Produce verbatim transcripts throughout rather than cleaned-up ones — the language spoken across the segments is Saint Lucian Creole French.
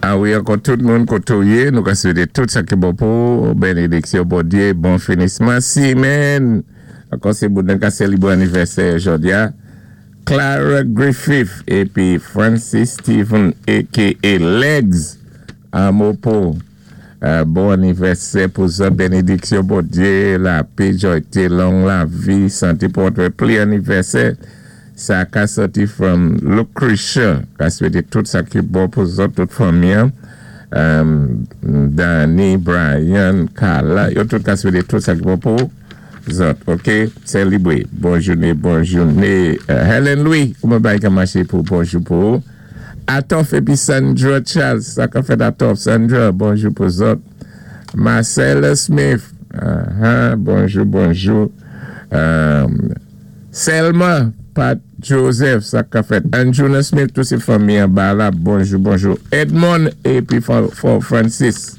A wi, ankò tout moun koté ou yé, nou ka swété tout sa ki bon pou, bénédiksyon Bondyé, bon finisman simenn. Ankò sé moun ka sélébwé anivèsè jòdi-a. Clara Griffith épi Francis Stephen aka Legs Amopo. Euh, bon anivèsè pou sa, bénédiksyon Bondyé, lapè, jwayté, long lavi, santé pou wè pli anivèsè. Sa ka sòti from Lucretia, ka swété tout sa ki bon pou zòt, tout fanmi. Um, Danny, Brian, Carla, yo tout ka swété tout sa ki bon pou zòt, ok? Sélébré. Bon jouné, bon jouné. Euh, Helen Louis, kouman bagay ka maché pou bonjou pou. Atof épi Sandra Charles, sa ka fèt Atof, Sandra, bonjou pou zòt. Marcella Smith, uh-huh, bonjou, bonjou. Um, Selma, Pat Joseph, sa ka fèt. Anjuna Smith, tout sé fanmi anba la, bonjou, bonjou. Edmond épi For Francis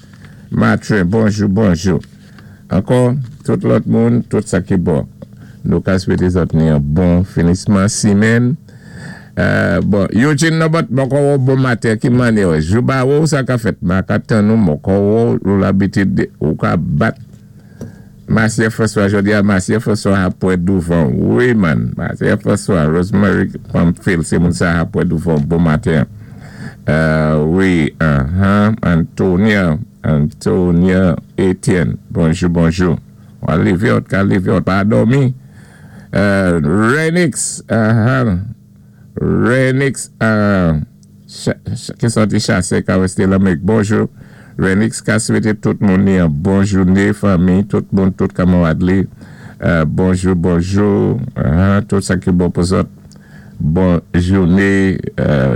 Matre, bonjou, bonjou. Ankò, tout lòt moun, tout sa ki bon. Nou ka swété zòt ni yon bon finisman simenn. Euh, bon, Eugene Nobot, bon bon maten, ki mannyè, Jouba ou sa ka fèt, ma ka tann nou, mon ko ou labitid, ou ka bat Marcia François, jòdi-a Marcia François apwè douvan. Wi, man. Marcia François, Rosemary Pamphile, sé moun sa apwè douvan. Bon maten. Euh, wi, uh-huh. Antonia, Antonia Etienne. Bonjou, bonjou. Ou lévé, ou ka lévé, ou pa dòmi. Euh, Renix, uh-huh. Renix, uh, ki sòti chasè, ka wèsté Lamérik. Bonjou. Renix ka swété tout moun ni yon bon jouné, fanmi, tout moun, tout kanmarad li. Euh, bonjou, bonjou. Uh-huh, tout sa ki bon pou zòt. Bon jouné. Euh,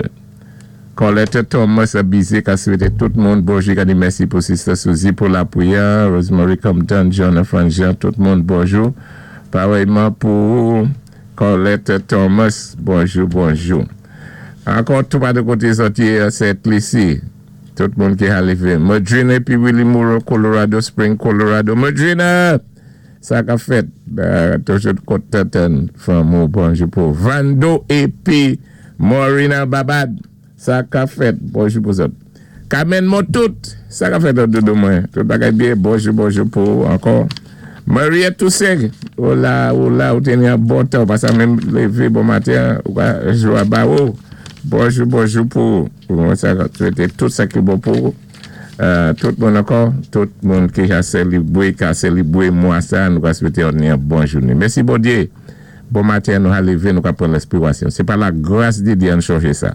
Colette Thomas Abizé ka swété tout moun. Bonjou, ka di mèsi pou Sister Suzy pou lapwiyè. Rosemary Compton, John Jean, tout moun, bonjou. Parèyman pou Colette Thomas, bonjou, bonjou. Ankò tout pa de koté sòti Sent Lisi. Tout moun ki a lévé. Madrina épi Willie Moore, Colorado Spring, Colorado. Madrina! Sa ka fèt. Toujou kontan fanmi, bonjou pou Vando épi Morina Babad. Sa ka fèt. Bonjou pou zòt. Kamen mou tout. Sa ka fèt doudou mwen. Tout bagay byen. Bonjou, bonjou pou ankò. Maria Toussaint. Ou la, ou la, ou téni yon bon tan. Pasa menm lévé bon maten. Ou ka jwa ba ou. Bonjou, bonjou pou mwen sa swété tout sa ki bon pou tout moun ankò, tout moun ki ka sélébwé, ka sélébwé mwa sa, nou ka swété yon bon jouné. Mèsi Bondyé. Bon maten nou a lévé, nou ka pran lenspirasyon. Sé pa la gras di Dye an chanje sa.